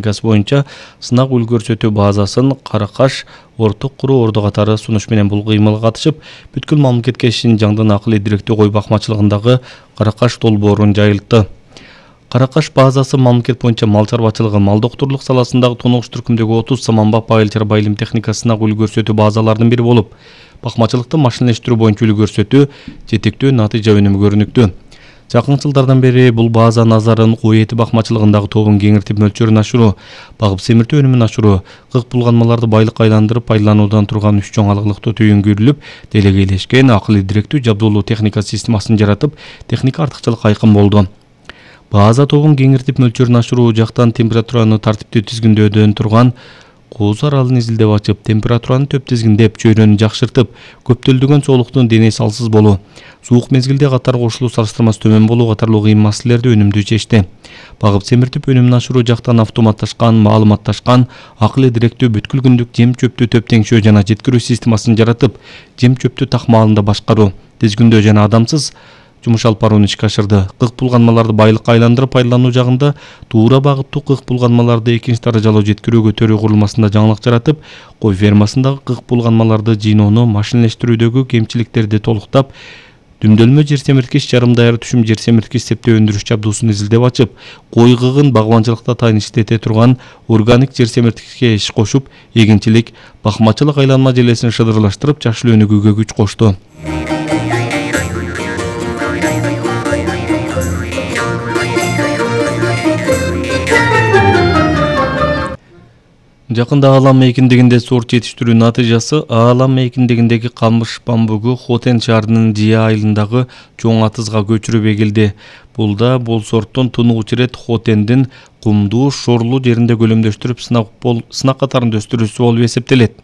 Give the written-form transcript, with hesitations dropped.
газ боюнча сынак үлгүрсөтүү базасын Каракаш, Орток Куру Орду катары сунуш менен бул кыймылга катышып, бүткүл мамлекетке Шинжаңдын акылы директүү кой бакмачылыгындагы Каракаш долбоорун жайылтты. Каракаш базасы мамлекет боюнча мал чарбачылыгы, мал доктурлук саласындагы тоногуч түркүмдөгү 30 саманбап айыл-чар байылым техникасына үлгүрсөтүү базаларынын бири болуп, бакмачылыкты машинелештирүү боюнча үлгүрсөтүү жетектүү натыйжа өнүмү көрүнүктүү. Жакын жылдардан бери бул база назарын кой эти бакмачылыгындагы тобун кеңиртип мөлчөрүн ашыруу, багып семиртүү өнүмүн ашыруу, кык булганмаларды байлыкка айландырып пайдалануудан турган 3 чоң алыклыкты түйүнгүрүлүп, делегейлешкен акылы директүү жабдуулуу техника системасын жаратып, техника артыкчылык айкын болду. База тобун кеңиртип мөлчөрүн ашыруу жактан температураны тартиптүү тизгиндөөдөн турган кооз аралын изилдеп ачып, температураны төп тизгиндеп, чөйрөнү жакшыртып, көптөлдөгөн соолуктун дене салсыз болуу, суук мезгилде катар кошулуу салыштырмасы төмөн болуу катарлуу кыйын маселелерди өнүмдүү чечти. Багып семиртип өнүмүн ашыруу жактан автоматташкан, маалыматташкан, акылы директүү бүткүл күндүк жем чөптү төп теңшөө жана жеткирүү системасын жаратып, жем чөптү такмаалында башкаруу, тизгиндөө жана адамсыз жумуш алып барууну ишке ашырды. Кык булганмаларды байлыкка айландырып пайдалануу жагында туура багыттуу кык булганмаларды экинчи даражалуу жеткирүүгө төрүү курулмасында жаңылык жаратып, кой фермасындагы кык булганмаларды жыйноону машинелештирүүдөгү кемчиликтерди толуктап, дүмдөлмө жер семирткич, жарым даяр түшүм жер семирткич септөө өндүрүш жабдуусун изилдеп ачып, кой кыгын багбанчылыкта тайын иштете турган органик жер семирткичке иш кошуп, эгинчилик, бакмачылык айланма желесин шыдырлаштырып, жакшы өнүгүүгө күч кошту. Жакында Аалам мейкиндигинде сорт жетиштирүү натыйжасы Аалам мейкиндигиндеги Камыш бамбугу Хотен шаарынын Жия айылындагы чоң атызга көчүрүп эгилди. Бул сорттун тунугуч ирет Хотендин кумдуу, шорлуу жеринде көлөмдөштүрүп сынак катарында өстүрүүсү болуп эсептелет.